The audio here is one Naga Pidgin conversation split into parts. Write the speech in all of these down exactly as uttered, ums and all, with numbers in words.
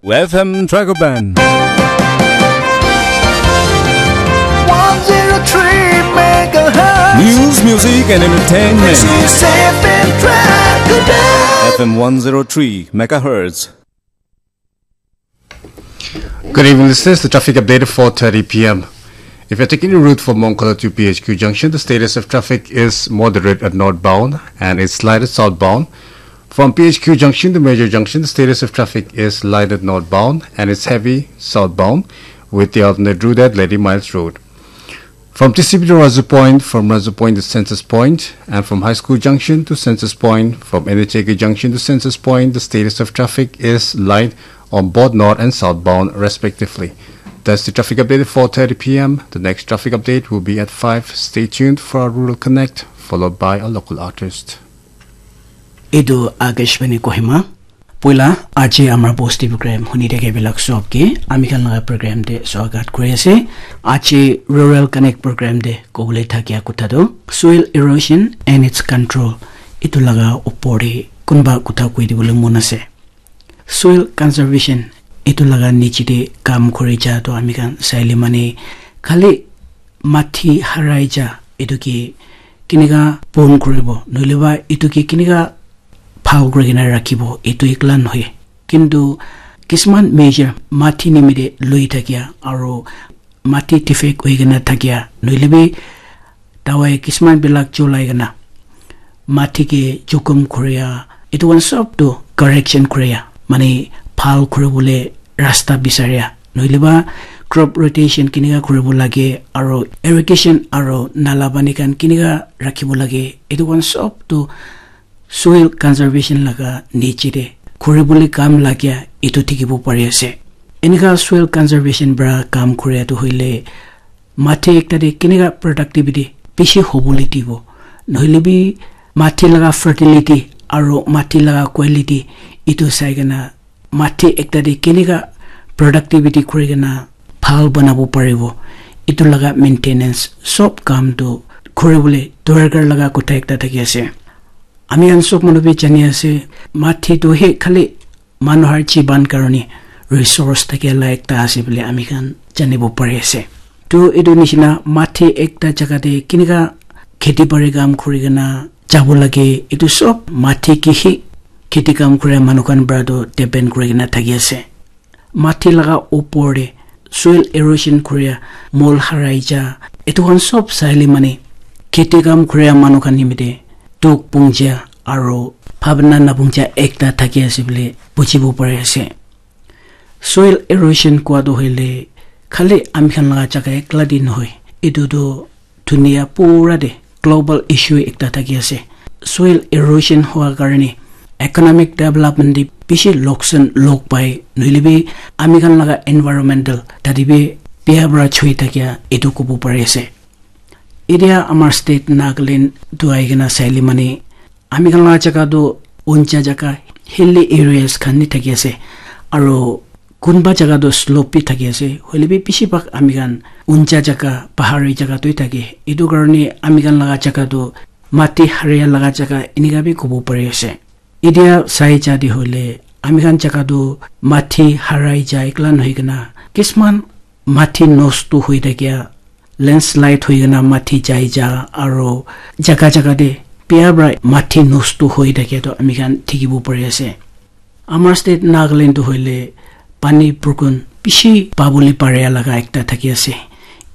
F M Dragoban. one zero three megahertz. News, music, and entertainment. This is F M Dragoban. F M one zero three megahertz. Good evening, this is the traffic update at four thirty p m. If you're taking the route from Mongkala to P H Q Junction, the status of traffic is moderate at northbound and it's light at southbound. From P H Q Junction to Major Junction, the status of traffic is light at northbound and it's heavy southbound with the alternate route at Lady Miles Road. From T C B to Razu Point, from Razu Point to Census Point, and from High School Junction to Census Point, from N H A K Junction to Census Point, the status of traffic is light on both north and southbound, respectively. That's the traffic update at four thirty p m. The next traffic update will be at five. Stay tuned for our Rural Connect, followed by a local artist. Etu Akashvani Kohima. Poila aji amar bosti program huni thake bilak sob ke ami khan laga program te swagat kuri ase. Aji Rural Connect program te kobole thakia kotha tu soil erosion and its control. Etu laga upor te kunba kotha koi dibole mon ase. Soil conservation etu laga niche te kam kuri ja tu ami khan saile mane khali mati harai ja etu ke kineka pon kuribo nohole ba etu ke kineka bhal kuri kena rakhibo etu ekla nohoi. Kintu kisman measure mati nimite loi thakia aru mati defect hoi kena thakia nohole bi dawai kisman bilak cholai kena mati ke jukum kuria etu khan sob tu correction kuria mane bhal kuribole rasta bisaria nohole ba crop rotation kineka kuribo lage aru irrigation aru nala pani khan kineka rakhibo lage etu khan sob tu soil conservation laga niche te kuribole kam lagia etu dikhibo pari ase. Eneka soil conservation para kam kuria tu hoile mati ekta te kineka productivity bishi hobole dibo nohole bi mati laga fertility aru mati laga quality etu sai kena mati ekta te kineka productivity kuri kena bhal banabo paribo etu laga maintenance sob kam tu kuribole dorkar laga kotha ekta thaki ase. Ami khan sob manu bi jani ase mati tu he khali manu har jiban karone resource thakia la ekta ase bole ami khan janibo pari ase. Tu etu nishina mati ekta jaga te kineka kheti bari kam kuri kena jabo lage etu sob mati ke he kheti kam kura manu khan para tu depend kuri kena thaki ase. Mati laga upor te soil erosion kuria mol harai ja etu khan sob saile mane kheti kam kuria manu khan nimite dukh pungja aru bhabna napungja ekta thaki ase bole bujibo pari ase. Soil erosion kua tu hoile khali ami khan laga jaga ekla te nohoi etu tu dunia pura te global issue ekta thaki ase. Soil erosion hua karone economic development te bishi loksan log pai nohole bi ami khan laga environmental tate bi bia para choi thakia etu kobo pari ase. Etia amar state Nagaland tu ahi kena saile mane ami khan laga jaga tu uncha jaga hilly areas khan ni thaki ase aru kunba jaga tu slope bi thaki ase hoile bi bishi bhag ami khan uncha jaga pahari jaga tu thake etu karone ami khan laga jaga tu mati haria laga jaga enika bi kobo pari ase. Etia sai ja te hoile ami khan jaga tu mati harai ja ekla nohoi kena kisman mati nosto hoi thakia landslide hoi kena mati jai ja aru jaga jaga te bia para mati nosto hoi thakia tu ami khan dikhibo pari ase. Amar state Nagaland tu hoile pani purkun bishi pabole paria laga ekta thaki ase.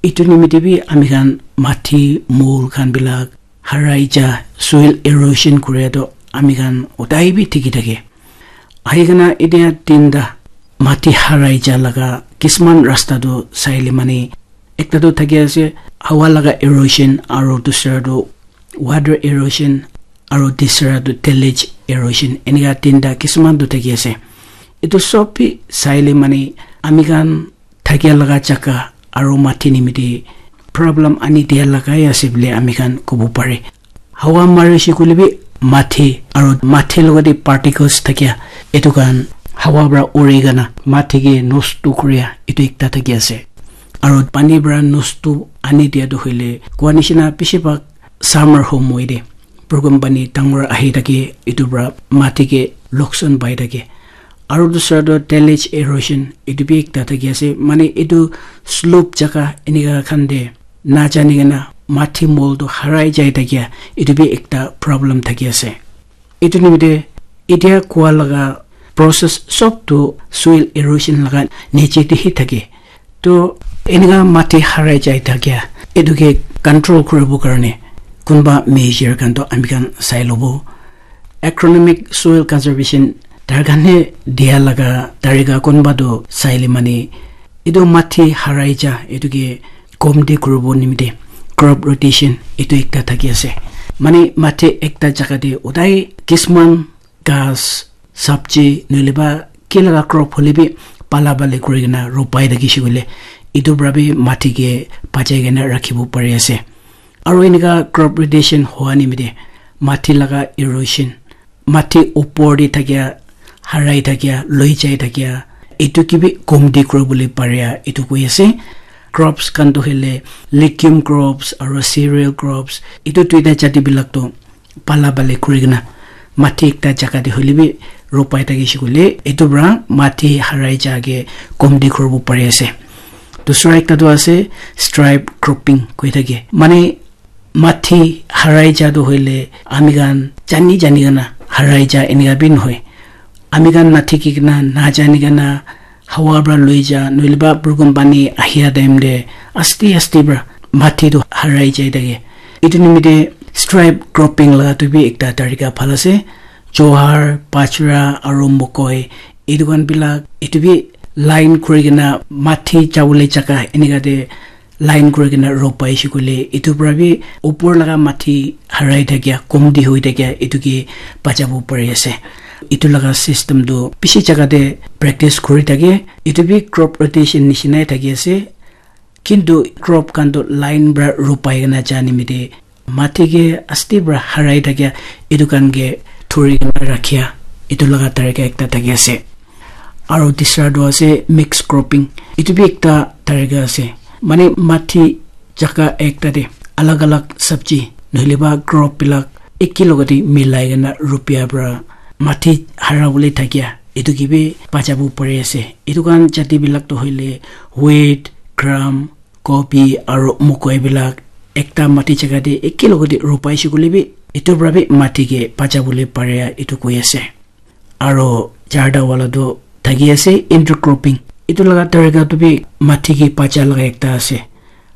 Etu nimite bi ami khan mati mol khan bilak harai ja soil erosion kuria tu ami khan utai bi dikhi thake. Ahi kena etia tinta mati harai ja laga kisman rasta tu saile mane ekta tu thaki ase hawa laga erosion aru dusra tu water erosion aru tisra tu tillage erosion enika tinta kisman tu thaki ase. Etu sob bi saile mane ami khan thakia laga jaga aru mati nimite problem ani dia lagai ase bole ami khan kobo pare. Hawa marise koile bi mati aru mati logote particles thakia etu khan hawa para uri kena mati ke nosto kuria etu ekta thaki ase. Aru pani para nosto ani dia tu hoile kua nishina bishi bhag summer home hoi de program pani dangor ahi thake etu para mati ke loksan pai thake. Aru dusra toh tillage erosion, etu bi ekta thaki ase. Mane etu slope jaga enika khan te najani kena mati mol toh harai jai thakia, etu bi ekta problem thaki ase. Etu nimite etia koa laga process sob tu soil erosion laga niche te hi thake. To enika mati harai jai thakia, etu ke control kuribo karne kunba measure khan to ami khan sai lobo. Agronomic soil conservation tar khan he dia laga tarika kunba to saile mane etu mati harai ja etu ke komti kuribo nimite crop rotation etu ekta thaki ase. Mane mati ekta jaga te udai kisman ghas, sabji, nohole ba ki laga crop hole bi pala bale kuri kena ropai thaki shi koile, etu para bi mati ke bachai kena rakhibo pari ase. Aru enika crop rotation hoa nimite mati laga erosion, mati upor te thakia, harai thakia, loi jai thakia, etu ke bi komti kuribole paria etu koi ase. Crops khan toh hoile legume crops aru cereal crops, etu duita jati bilak toh pala bale kuri kena mati ekta jaga te hoile bi ropai thaki shi koile, etu para mati harai ja ke komti kuribo pari ase. Dusra ekta toh ase stripe cropping koi thake. Mane mati harai ja toh hoile ami khan jani jani kena harai ja enika bi nohoi. Ami khan nathiki kena, najani kena, hawa para loi ja, nohole ba burukun pani ahia time te aste aste para mati toh harai jai thake. Etu nimite stripe cropping laga tu bi ekta tarika bhal ase. Johar, bajra aru mokoi, etu khan bilak etu bi line kuri kena mati jabole jaga enika te line kuri kena ropai shi koile, etu para bi upor laga mati harai thakia, komti hoi thakia, etu ke bachabo pari ase. Etu laga system tu bishi jaga te practice kuri thake. Etu bi crop rotation nishina thaki ase. Kintu crop khan tu line para ropai kena ja nimite mati ke asti para harai thakia, etu khan ke thuri kena rakhia, etu laga tarika ekta thaki ase. Aru tisra tu ase mix cropping. Etu bi ekta tarika ase. Mane mati jaga ekta te alag alag sabji nohole ba crop bilak eki logate milai kena rupia para mati hara bole thakia etu ke bi bachabo pari ase. Etu khan jati bilak tu hoile wheat, gram, kobi aru mokoi bilak ekta mati jaga te eki logate ropai shi koile bi etu para bi mati ke bachabo le paria etu koi ase. Aru charta wala tu thaki ase intercropping. Etu laga tarika tu bi mati ke bacha laga ekta ase.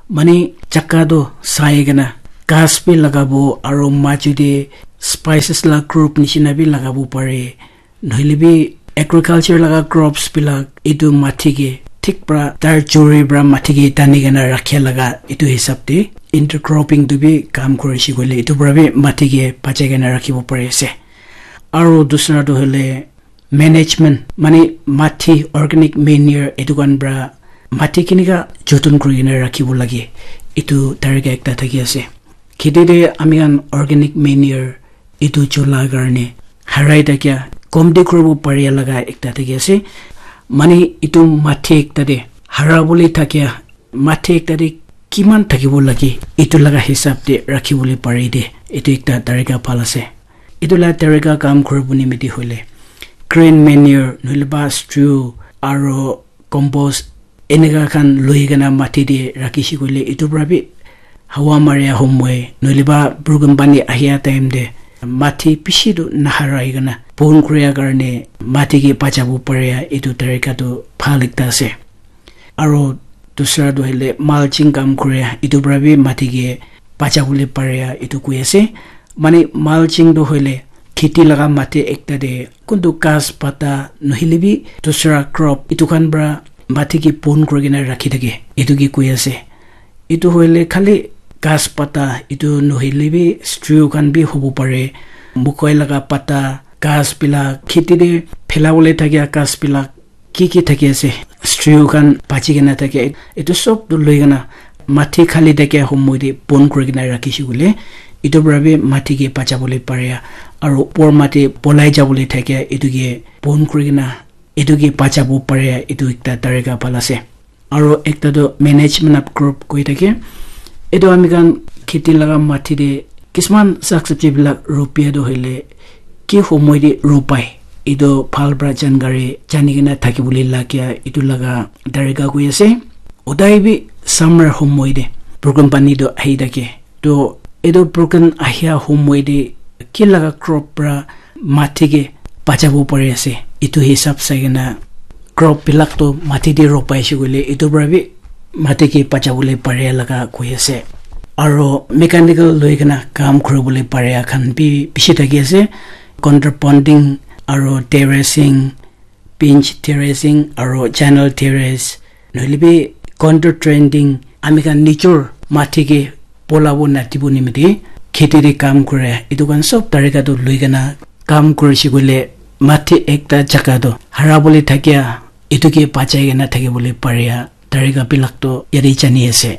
Mane jaga tu sai kena ghas bi lagabo aru majo te spices la group nishina bi lagabo pare. Nohole bi agriculture laga crops bilak etu mati ke thik para tar juri para mati ke tani kena rakhia laga etu hisab te intercropping tu bi kam kuri shi koile etu para bi mati ke bachai kena rakhibo pari ase. Aru dusra tu hoile management, mane mati organic manure etu khan para mati kenika joton kuri kena rakhibo lage, etu tarika ekta thaki ase. Kheti te ami khan organic manure etu chola karne harai thakia komti kuribo paria laga ekta thaki ase. Mane etu mati ekta te hara bole thakia mati ekta te kiman thakibo lage etu laga hisab te rakhi bole pare de, etu ekta tarika bhal ase. Etu la tarika kam kuribo nimite hoile green manure nohole ba straw aro compost enika khan loi kena mati te rakhi shi koile etu para bi hawa maria homoi nohole ba burukun pani ahia time te mati bishi tu naharai kena bon kuria karne mati ke bachabo paria etu tarika tu bhal ekta ase. Aro dusra tu hoile mulching kam kuria etu para bi mati ke bachabo le paria etu koi ase. Mane mulching tu hoile kheti laga mati ekta te kuntu ghas pata nohole bi dusra crop etu khan para mati ke bon kuri kena rakhi thake etu ke koi ase. Etu hoile khali ghas pata etu nohole bi straw khan bi hobo pare, mokoi laga pata, ghas bilak, kheti te phela bole thakia ghas bilak ki ki thaki ase, straw khan bachi kena thake, etu sob tu loi kena mati khali thakia homoi te bon kuri kena rakhi shi koile etu para bi mati ke bachabo le paria aro upor mati polai jabo le thakia etu ke bon kuri kena etu ke bachabo paria etu ekta tarika bhal ase. Aro ekta tu management of crop koi thake. Etu ami khan kheti laga mati te kisman sak sabji bilak rupia tu hoile ki homoi te rupai etu bhal para jankari jani kena thaki bole lagia etu laga tarika koi ase. Udai bi summer homoi te program pani toh ahi thake. Toh etu program ahia homoi te ki laga crop para mati ke bachabo pari ase, etu hisab sai kena crop bilak toh mati te ropai ase koile etu para bi mati ke bachabole pare laga koi ase. Aro mechanical loi kena kam kuribole pare khan bi bishi thaki ase. Counter bonding aro terracing, pinch terracing aro channel terrace, nohole bi counter trenching, ami khan nijor mati ke polabo natibo nimite kheti te kam kure, etu khan sob tarika toh loi kena kam kurise koile mati ekta jaga toh hara bole thakia etu ke bachai kena thakibole paria tarika bilak toh yate jani ase.